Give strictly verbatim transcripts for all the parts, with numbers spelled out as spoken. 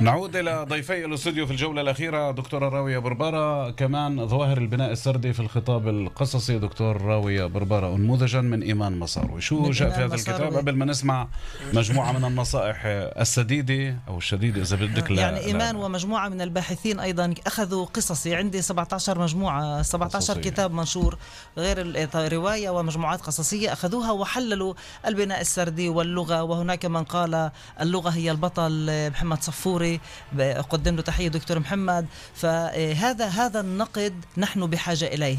نعود إلى ضيفي الاستوديو في الجولة الأخيرة دكتورة راوية بربارة، كمان ظواهر البناء السردي في الخطاب القصصي. دكتور راوية بربارة، نموذجا من إيمان مصاروي، شو جاء في هذا الكتاب قبل ما نسمع مجموعة من النصائح السديدة أو الشديدة إذا بدك؟ لا يعني إيمان لا. ومجموعة من الباحثين أيضا أخذوا قصصي، عندي سبعة عشر مجموعة سبعة عشر قصصية. كتاب منشور غير الرواية ومجموعات قصصية أخذوها وحللوا البناء السردي واللغة. وهناك من قال اللغة هي البطل، محمد صفوري قدم له تحية دكتور محمد. فهذا هذا النقد نحن بحاجة إليه.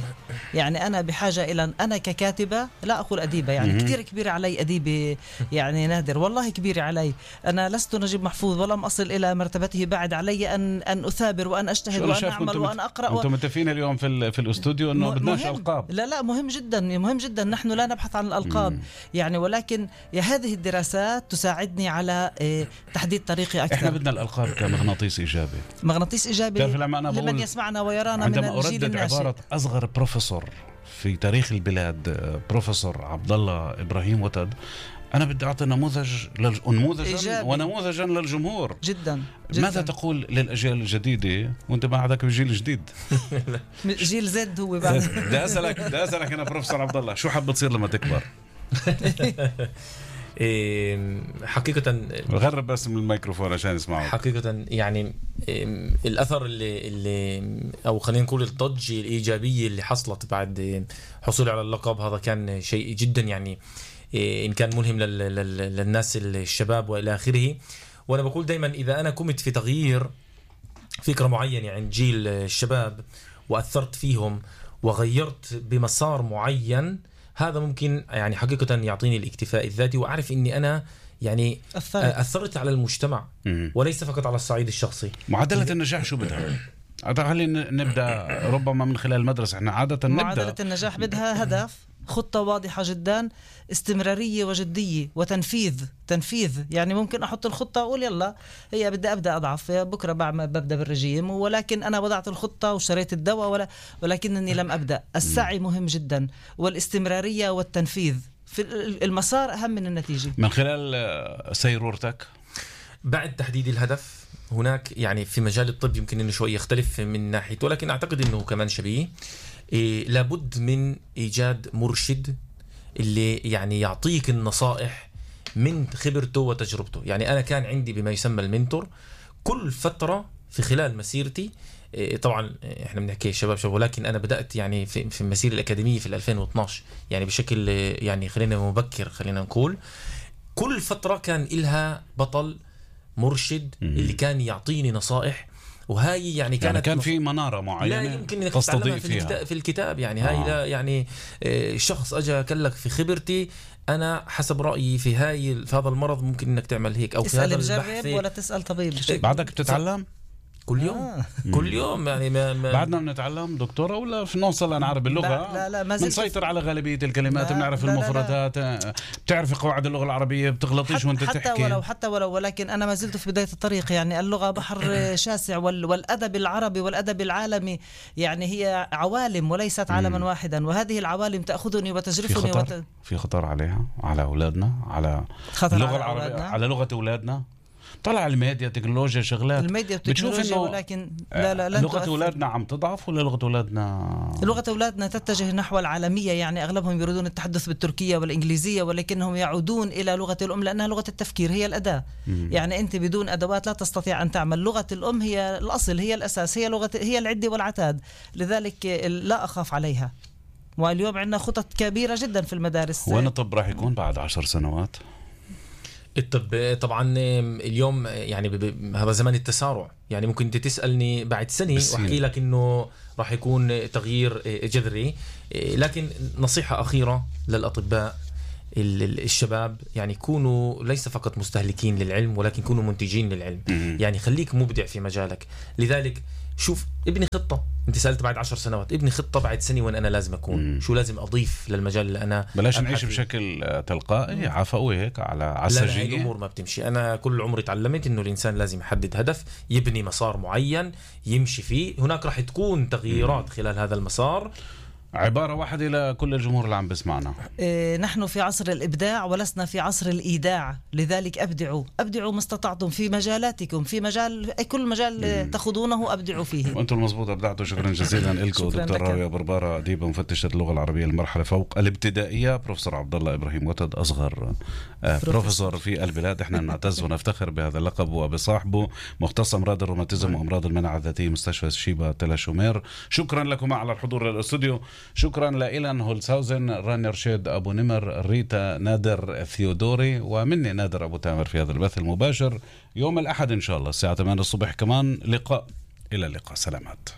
يعني أنا بحاجة إلى أنا ككاتبة، لا أقول أديبة، يعني كثير كبيرة علي أديبة، يعني نادر والله كبيرة علي. أنا لست نجيب محفوظ ولم أصل إلى مرتبته، بعد علي أن أن أثابر وأن أجتهد وأن أعمل وأن أقرأ. أنتم متفقين اليوم في في الاستوديو إنه بدناش ألقاب؟ لا لا مهم جدا، مهم جدا، نحن لا نبحث عن الألقاب. مم. يعني ولكن هذه الدراسات تساعدني على تحديد طريقي أكثر. إحنا بدنا الألقاب كمغناطيس إيجابي. مغناطيس إيجابي لمن يسمعنا ويرانا من الجيل الناشئ. عبارة أصغر بروفيسور في تاريخ البلاد، بروفيسور عبد الله إبراهيم وتد، أنا بدي أعطي نموذج لل... نموذجا ونموذجا للجمهور جدا, جداً. ماذا تقول للأجيال الجديدة وأنت بعدك بجيل جديد؟ جيل زد هو بعد. بدي أسألك بدي أسألك أنا بروفيسور عبد الله، شو حاب تصير لما تكبر؟ حقيقة غرب بس من الميكروفون عشان يسمعوا. حقيقة يعني الأثر اللي, اللي أو خلينا نقول الضجة الإيجابية اللي حصلت بعد حصولي على اللقب، هذا كان شيء جدا يعني إن كان ملهم للناس الشباب وإلى آخره. وأنا بقول دايما إذا أنا قمت في تغيير فكرة معينة عند جيل الشباب وأثرت فيهم وغيرت بمسار معين، هذا ممكن يعني حقيقة يعطيني الاكتفاء الذاتي، وأعرف إني أنا يعني أثرت, أثرت على المجتمع وليس فقط على الصعيد الشخصي. معادلة النجاح شو بدها؟ خلينا نبدأ ربما من خلال المدرسة. احنا عادة نبدأ معادلة النجاح بدها هدف، خطة واضحة جدا، استمرارية وجدية وتنفيذ. تنفيذ يعني ممكن أحط الخطة وأقول يلا هي بدي أبدأ أضعف بكرة بعمل ببدأ بالرجيم، ولكن أنا وضعت الخطة وشريت الدواء ولا ولكنني لم أبدأ. السعي مهم جدا والاستمرارية والتنفيذ في المسار أهم من النتيجة. من خلال سيرورتك بعد تحديد الهدف، هناك يعني في مجال الطب يمكن انه شوي يختلف من ناحية، ولكن اعتقد انه كمان شبيه. إيه لابد من ايجاد مرشد اللي يعني يعطيك النصائح من خبرته وتجربته. يعني انا كان عندي بما يسمى المنتور كل فترة في خلال مسيرتي. إيه طبعا احنا بنحكي شباب شباب، ولكن انا بدأت يعني في, في المسيرة الأكاديمية في ألفين واثناشر، يعني بشكل يعني خلينا مبكر خلينا نقول. كل فترة كان إلها بطل مرشد اللي كان يعطيني نصائح، وهاي يعني كانت يعني كان في منارة معينة لا يمكن انك تتعلمها في الكتاب, في الكتاب يعني هاي آه. لا يعني شخص اجى كلك في خبرتي انا حسب رأيي في هاي في هذا المرض ممكن انك تعمل هيك، او في هذا البحث ولا تسأل طبيب. بعدك بتتعلم كل يوم آه. كل يوم يعني ما ما بعدنا بنتعلم دكتورة ولا في نوصل نعرف اللغة؟ لا لا ما بنسيطر على غالبية الكلمات، بنعرف المفردات، بتعرف قواعد اللغة العربية، بتغلطيش وانت حتى تحكي. حتى ولو حتى ولو ولكن أنا ما زلت في بداية الطريق. يعني اللغة بحر شاسع، وال والأدب العربي والأدب العالمي يعني هي عوالم وليست عالما واحدا، وهذه العوالم تأخذني وتجرفني. في خطر, وت... في خطر عليها على أولادنا، على اللغة العربية أولادنا. على لغة أولادنا. طلع الميديا تكنولوجيا شغلات، الميديا تكنولوجيا، ولكن لا لا لا لغة أولادنا عم تضعف ولا لغة أولادنا لغة أولادنا تتجه نحو العالمية. يعني أغلبهم يريدون التحدث بالتركية والإنجليزية، ولكنهم يعودون إلى لغة الأم لأنها لغة التفكير، هي الأداة. مم. يعني أنت بدون أدوات لا تستطيع أن تعمل. لغة الأم هي الأصل، هي الأساس، هي لغة، هي العدة والعتاد، لذلك لا أخاف عليها. واليوم عندنا خطط كبيرة جدا في المدارس. وين الطب راح يكون بعد عشر سنوات؟ الطب طبعا اليوم يعني هذا زمان التسارع. يعني ممكن انت تسألني بعد سنة واحكي لك انه راح يكون تغيير جذري. لكن نصيحة أخيرة للأطباء الشباب، يعني كونوا ليس فقط مستهلكين للعلم ولكن كونوا منتجين للعلم. يعني خليك مبدع في مجالك. لذلك شوف ابني خطة، انت سألت بعد عشر سنوات، ابني خطة بعد سنة وين انا لازم اكون. مم. شو لازم اضيف للمجال اللي انا بلاش نعيش بشكل تلقائي عفوي هيك على عسجية. لا لا الامور ما بتمشي. انا كل عمري تعلمت انه الانسان لازم يحدد هدف، يبني مسار معين يمشي فيه. هناك راح تكون تغييرات مم. خلال هذا المسار، عبارة واحدة لكل الجمهور اللي عم بسمعنا. إيه، نحن في عصر الإبداع ولسنا في عصر الإيداع، لذلك أبدعوا أبدعوا ما استطعتم في مجالاتكم، في مجال أي كل مجال تأخذونه أبدعوا فيه. وأنتم المضبوط أبدعتوا. شكرا جزيلا لكم دكتور راوية بربارة، أديبة مفتشة اللغة العربية المرحلة فوق الابتدائية. بروفيسور عبد الله إبراهيم وتد، أصغر بروفيسور في البلاد. احنا نعتز ونفتخر بهذا اللقب وبصاحبه، مختص أمراض الروماتيزم وأمراض المناعة الذاتية، مستشفى شيبا تل شومير. شكرا لكم على الحضور للاستوديو. شكرا لإيلان هولساوزن، رانير شيد أبو نمر، ريتا نادر ثيودوري، ومني نادر أبو تامر في هذا البث المباشر يوم الأحد إن شاء الله الساعة ثمانية الصبح كمان لقاء. إلى اللقاء، سلامات.